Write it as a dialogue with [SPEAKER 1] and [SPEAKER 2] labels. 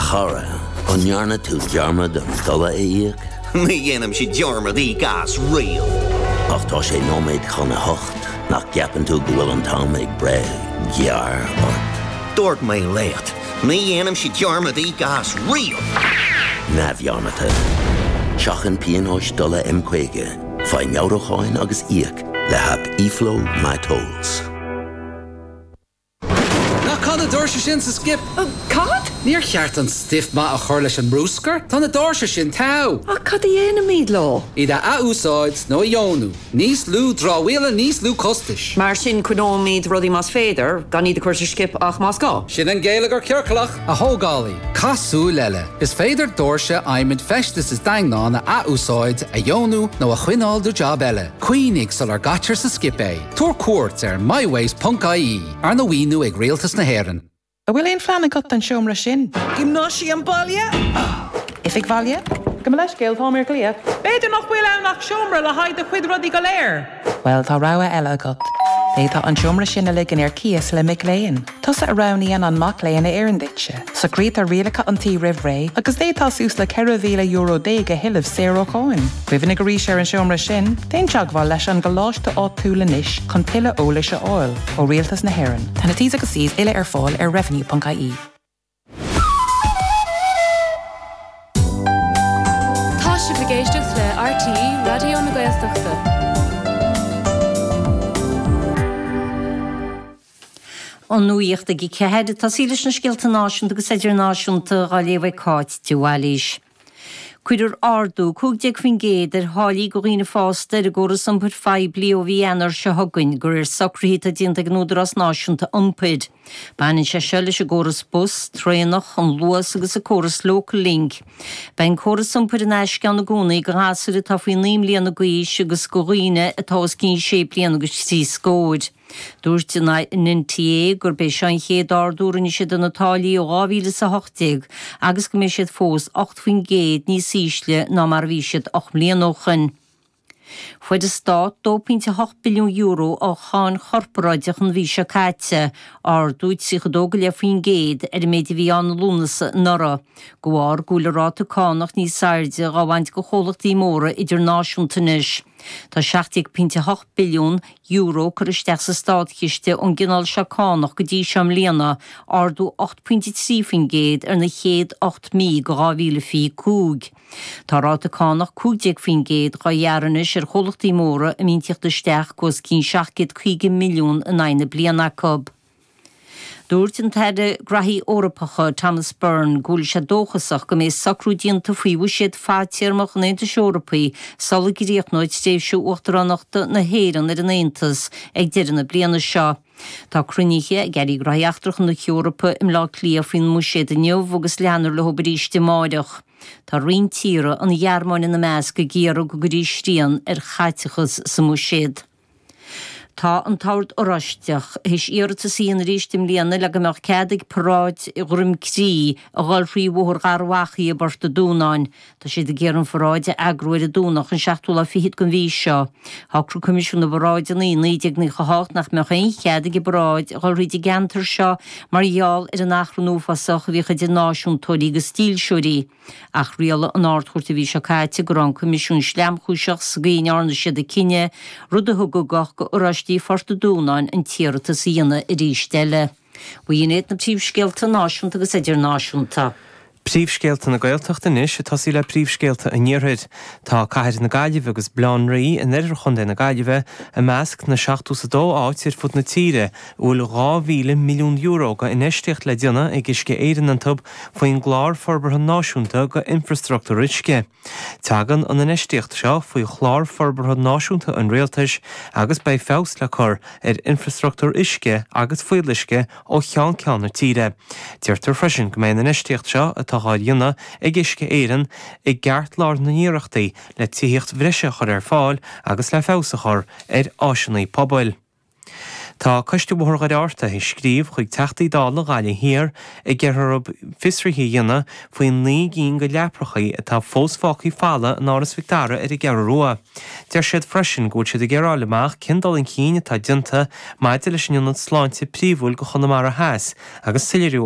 [SPEAKER 1] chara, an ndearna tú dearmad an dola a íoc?
[SPEAKER 2] Ní dhéanaimse dearmad íoc as riamh!
[SPEAKER 1] Ach tá sé nóiméad chun a hocht, nach gceapann tú go bhfuil an t-am ag breith gearr ort?
[SPEAKER 2] Dúirt mé leat, ní dhéanaimse dearmad íoc as riamh!
[SPEAKER 1] Neamhdhearmadta. Seachain pionóis dola M50, faigh meabhrúcháin agus íoc le haip eFlow MyTolls.
[SPEAKER 3] Ná caith na doirse sin sa skip!
[SPEAKER 4] Cad?
[SPEAKER 3] Níor cheart an stuif maith a chur leis an mbrúscar. Tá na doirse sin togha!
[SPEAKER 4] Ach cad a dhéanfaimid leo?
[SPEAKER 3] Iad a ath-úsáid nó a dheonú. Níos lú dramhaíola, níos lú costais.
[SPEAKER 4] Mar sin, coinneoimid rudaí más féidir, gan iad a chur sa skip ach más gá.
[SPEAKER 3] Sin an geilleagar ciorclach! A thógálaí, caith súil eile. Is féidir doirse adhmaid feistis is daingneán a ath-úsáid, a dheonú nó a choinneáil do jab eile. Cuimhnigh sular gcaitear sa skip é. Tabhair cuairt ar mywaste ponc ie, arna mhaoiniú ag Rialtas na hÉireann.
[SPEAKER 5] An bhfuil aon phlean agat don seomra sin?
[SPEAKER 6] Giomnáisiam baile?
[SPEAKER 5] Oifig bhaile?
[SPEAKER 6] Gabh mo leithscéal, táim ar glaoch. B'fhéidir nach bhfuil ann ach seomra le haghaidh do chuid rudaí go léir.
[SPEAKER 5] Bhuel, tá rogha eile agat. D'fhéadfá an seomra sin a ligean ar cíos le mic léinn. Tusa a roghnaíonn an mac léinn a oireann duitse. Socraítear rialacha an tí roimh ré agus d'fhéadfá suas le €14,000 a thuilleamh saor ó cháin. Cuimhnigh arís ar an seomra sin, déan teagmháil leis an gcoláiste áitiúil anois chun tuilleadh eolais a fháil. Ó Rialtas na hÉireann. Tá na T's agus C's uile ar fáil ar revenue.ie.
[SPEAKER 7] Tá sibh ag éisteacht le RTÉ Raidió na Gaeltachta.
[SPEAKER 8] An nuacht ag 4, ag tosaí leis na scéalta náisiúnta agus idirnáisiúnta á léamh ag Cáit de Bhailís. Cuirfear ardú 15% ar tháillí do dhaoine fásta ar an gcóras iompair phoiblí ó mhí Eanáir seo chugainn, de réir socruithe atá déanta ag an Údarás Náisiúnta Iompair. Baineann sé seo leis an gcóras bus, traenach, an Luas agus an córas Local Link. Beidh an córas iompair in aisce ann i gcónaí do ghasúir atá faoi 9 mbliana d'aois agus do dhaoine atá os cionn sé bliana agus trí scóir. Dúirt an NTA gurb é seo an chéad ardú a rinne siad ar na táillí ó 2018 agus go mbeidh siad fós 8% níos ísle ná mar a bhí siad 8 mbliana ó shoin. Fuair an Stát €2.8 billiún ó cháin chorparáideach an mhí seo caite, ardú 32.5% ar an méid a bhí ann i Lúnasa anuraidh, de bharr go bhfuil an ráta cánach níos airde dhá bhaint de chomhlachtaí móra idirnáisiúnta anois. Tá €17.8 billiún curtha isteach sa státchiste ón gcineál seo cánach go dtí seo i mbliana, ardú 8.3% ar na chéad 8 mí de 2025. Tá ráta cánach 15% dhá ghearradh anois ar chomhlachtaí móra a mbíonn tíocht isteach os cionn 750 milliún in aghaidh na bliana acu. Dúirt an tAire Graithí Eorpacha Thomas Byrne go bhfuil sé dóchasach go mbeidh socrú déanta faoi bhuiséad fadtéarmach an Aontais Eorpaigh sula gcríochnóidh tréimhse uachtaránachta na hÉireann ar an Aontas ag deireadh na bliana seo. Tá cruinnithe ag Airí Gnóthaí Eachtracha na hEorpa i mBleá Cliath faoin mbuiséad inniu agus leanfar leo arís amáireach. Tá roinnt tíortha, an Ghearmáin ina measc, ag iarraidh go gcuirfí srian ar chaiteachas sa mbuiséad. Tá an tOrd Oráisteach théis iarratas a dhéanamh arís i mbliana le go mbeadh cead ag paráid Dhroim Crí a dhul thrí Bhóthar Gharbh Achaidh i bPort a' Dúnáin. Tá siad ag iarraidh an pharáid a eagrú ar an Domhnach an seachtú lá fichead den mhí seo. Shocraigh Coimisiún na bParáideanna i 1998 nach mbeadh aon chead ag an bparáid a dhul thríd an gceantar seo mar gheall ar an achrann uafásach a bhíodh idir náisiúntóirí agus dílseoirí. Ach rialaigh an Ard-Chúirt an mhí seo caite go raibh an Coimisiún sleamchúiseach sa gcaoi a ndearna siad a cinneadh, rud a thug ugach go Oráistigh Phort an Dúnáin an t-iarratas a dhéanamh arís eile. B'in iad na príomhscéalta náisiúnta agus idirnáisiúnta.
[SPEAKER 9] Príomhscéalta na Gaeltachta anois, ag tosaí le príomhscéalta an Iarthair. Tá Cathair na Gaillimhe agus Baile Átha an Rí in oirthear Chontae na Gaillimhe i measc na seachtó is a dó áit ar fud na tíre a bhfuil €2,000 milliún go infheistíocht le déanamh ag Uisce Éireann iontu faoin gClár Forbartha Náisiúnta go Infreastruchtúr Uisce. Tagann an infheistíocht seo faoi Chlár Forbartha Náisiúnta an Rialtais agus beidh feabhas le cur ar infreastruchtúr uisce agus fuíolluisce ó cheann ceann na tíre. Deirtear freisin go mbeidh an infheistíocht seo atá á dhéanamh ag Uisce Éireann i gceartlár na n-iarrachtaí le tithíocht bhreise a chur ar fáil agus le feabhas a chur ar áiseanna pobail. Tá Coiste Bhóthar Dhoire Fhátharta ag scríobh chuig Teachtaí Dála Ghaillimh Thiar ag iarraidh orthu fiosruithe a dhéanamh faoi 9 gcinn de leaprachaí atá fós fágtha folamh in Áras Mhic Dara ar an gCeathrú Rua. Deir siad freisin go bhfuil siad ag iarraidh a fháil amach cén dul chun cinn atá déanta maidir leis an ionad sláinte príomhúil go Chonamara Theas agus soiléiriú a.